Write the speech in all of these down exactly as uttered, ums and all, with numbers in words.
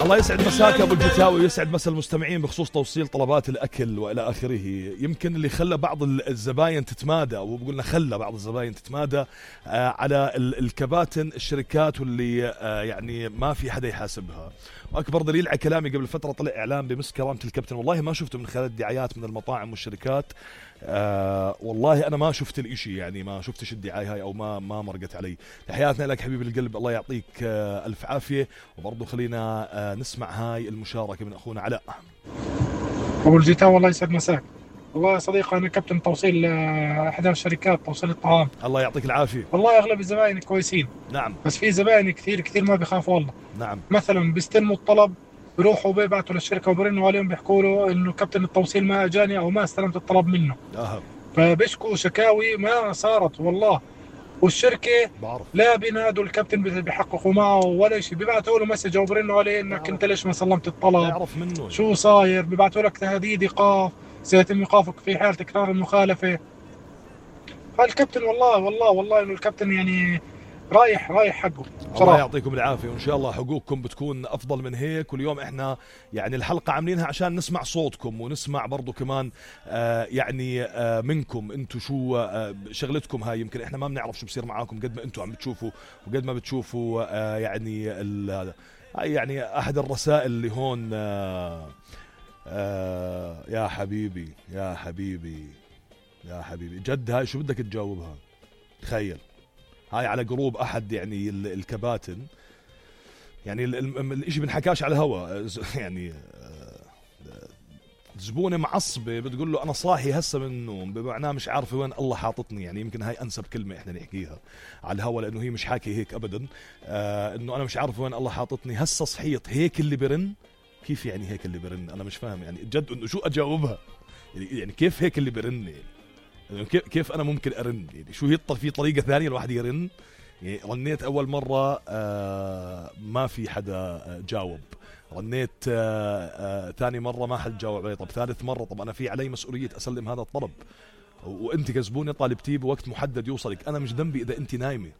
الله يسعد مساك أبو الجتاوي ويسعد مسا المستمعين بخصوص توصيل طلبات الأكل وإلى آخره. يمكن اللي خلى بعض الزباين تتمادى، وبقولنا خلى بعض الزباين تتمادى آه على الكباتن الشركات واللي آه يعني ما في حدا يحاسبها. وأكبر دليل على كلامي قبل فترة طلع إعلان بمس كرامة الكابتن، والله ما شفته من خلال الدعايات من المطاعم والشركات. آه والله أنا ما شفت الإشي، يعني ما شفتش الدعاية هاي أو ما ما مرقت علي. تحياتنا لك حبيب القلب، الله يعطيك آه ألف عافية. وبرضو خلينا آه نسمع هاي المشاركة من أخونا علاء. أبو الجيتان والله يسعد مساك. والله يا صديقي أنا كابتن توصيل أحد الشركات توصيل الطعام. الله يعطيك العافية. والله أغلب الزبائن كويسين. نعم. بس في زبائن كثير كثير ما بيخافوا والله. نعم. مثلا بيستلموا الطلب بيروحوا بيبعتوا للشركة وبرنوا عليهم بيحكوا له إنه كابتن التوصيل ما أجاني أو ما استلمت الطلب منه. أه. فبيشكوا شكاوي ما صارت والله، والشركة بعرف. لا بينادوا الكابتن بيحققوا معه ولا شيء، بيبعتوا له مسج وبرنوا عليه إنك أنت ليش ما سلمت الطلب، يعرف منه شو صاير، بيبعتوا لك تهديد إيقاف سيتم إيقافك في حال تكرار المخالفة. فالكابتن والله والله والله إنه الكابتن يعني رايح رايح حقه صراحة. الله يعطيكم العافية، وإن شاء الله حقوقكم بتكون أفضل من هيك. واليوم إحنا يعني الحلقة عاملينها عشان نسمع صوتكم ونسمع برضو كمان آه يعني آه منكم أنتوا شو آه شغلتكم هاي. يمكن إحنا ما بنعرف شو بصير معاكم قد ما أنتوا عم بتشوفوا وقد ما بتشوفوا آه يعني هاي يعني أحد الرسائل اللي هون آه آه يا حبيبي يا حبيبي يا حبيبي جد. هاي شو بدك تجاوبها؟ تخيل هاي على جروب أحد يعني الكباتن، يعني الاشي بنحكاش على الهوا. يعني زبونة معصبة بتقول له أنا صاحي هسه من النوم، بمعناه مش عارفة وين الله حاططني. يعني يمكن هاي أنسب كلمة إحنا نحكيها على الهوا، لأنه هي مش حاكي هيك أبدا. آه إنه أنا مش عارفة وين الله حاططني، هسه صحيت هيك اللي برن. كيف يعني هيك اللي برن؟ أنا مش فاهم يعني جد إنه شو أجاوبها. يعني كيف هيك اللي برن؟ يعني كيف أنا ممكن أرن؟ يعني شو هي في طريقة ثانية الواحد يرن؟ يعني رنيت أول مرة آه ما في حدا جاوب، رنيت آه آه ثاني مرة ما حد جاوب علي، طب ثالث مرة طب أنا في علي مسؤولية أسلم هذا الطلب، وأنت كزبوني طالبتيه بوقت محدد يوصلك. أنا مش ذنبي إذا أنت نايمة.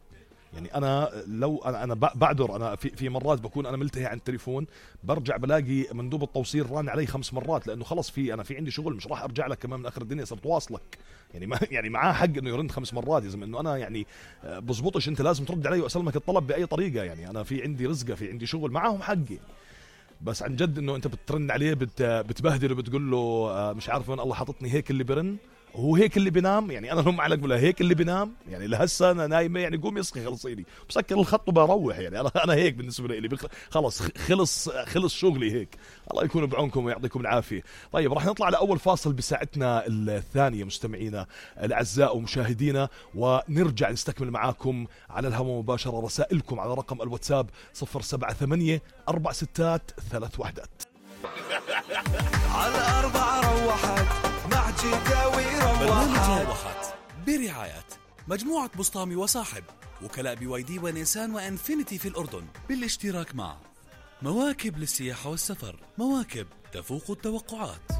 يعني أنا لو أنا أنا بعذر، أنا في في مرات بكون أنا ملتهي عن التليفون، برجع بلاقي مندوب التوصيل ران علي خمس مرات، لأنه خلص في أنا في عندي شغل، مش راح أرجع لك كمان من آخر الدنيا صرت واصلك. يعني ما يعني معاه حق إنه يرن خمس مرات، يا زلمة إنه أنا يعني بزبطش، أنت لازم ترد علي وأسلمك الطلب بأي طريقة. يعني أنا في عندي رزقة، في عندي شغل، معاهم حقي. بس عن جد إنه أنت بترن عليه بت بتبهدله وبتقول له مش عارف وين الله حاططني، هيك اللي برن هو هيك اللي بينام. يعني انا لهم علق ولا هيك اللي بينام، يعني لهسه انا نايمه، يعني قوم يصحي خلصيني بسكر الخط وبروح. يعني انا انا هيك بالنسبه لي خلص خلص خلص شغلي هيك. الله يكون بعونكم ويعطيكم العافيه. طيب راح نطلع لاول فاصل بساعتنا الثانيه مستمعينا الاعزاء ومشاهدينا، ونرجع نستكمل معاكم على الهواء مباشره رسائلكم على رقم الواتساب صفر سبعة ثمانية أربع ستات ثلاث وحدات. على أربعة روحت مع جداوي روحت. روحت برعاية مجموعة بسطامي وصاحب، وكلاء بي واي دي ونيسان وانفينيتي في الأردن، بالاشتراك مع مواكب للسياحة والسفر، مواكب تفوق التوقعات.